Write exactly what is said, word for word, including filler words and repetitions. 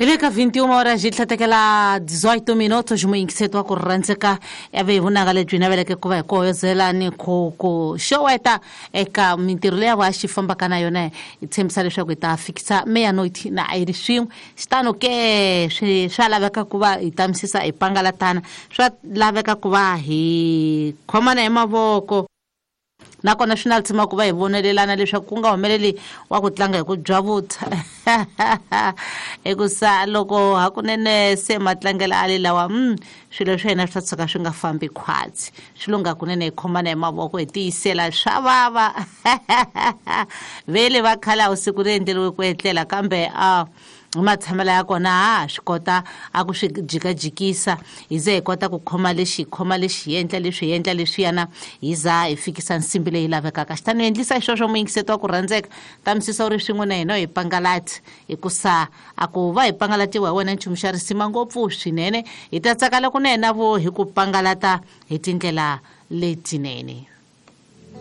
Hi le ka vinte e uma horas hi tlhatekela dezoito minutos muyingiseti wa ku rhandzeka ya ve hi vunanga lebyi naveleke ku va hi kohozelani ku ku xoweta eka mintirho leyi va xi fambaka na yona. Hi tshembisa leswaku hi ta fikisa meia-noite na a yi ri swin'we xitano ke swi swa laveka ku va hi tamisisa hi pangalatana, swa laveka ku va hi khomana hi mavoko, nakona swi na tshama ku va hi vonelelana leswaku ku nga humeleli wa ku tlanga hi ku byavutha hikusa loko hakunene se matlangelo a le lawa mm, swilo swa hina swi ta tshuka swi nga fambi khwatsi. Swi lunga kunene hi khomana hi mavoko hi tiyisela swa vava. Vele va khale a wu siku ri endleriwe ku etlela, kambe a matshamelo ya kona ha swi kota a ku swi jikajikisa hi ze hi kota ku khoma lexi hi khoma lexi hi endla leswi hi endla leswiyana hi za hi fikisa nsimbi leyi lavekaka. Xitano endlisa xisweswo muyingiseti wa ku rhandzeka tamisisa u ri swin'we na hina hi pangalati, hikusa a ku va hi pangalatiwa hi wena nchumu xa risima ngopfu swinene. Hi ta tsaka loko na hina vo hi ku pangalata hi tindlela letinene.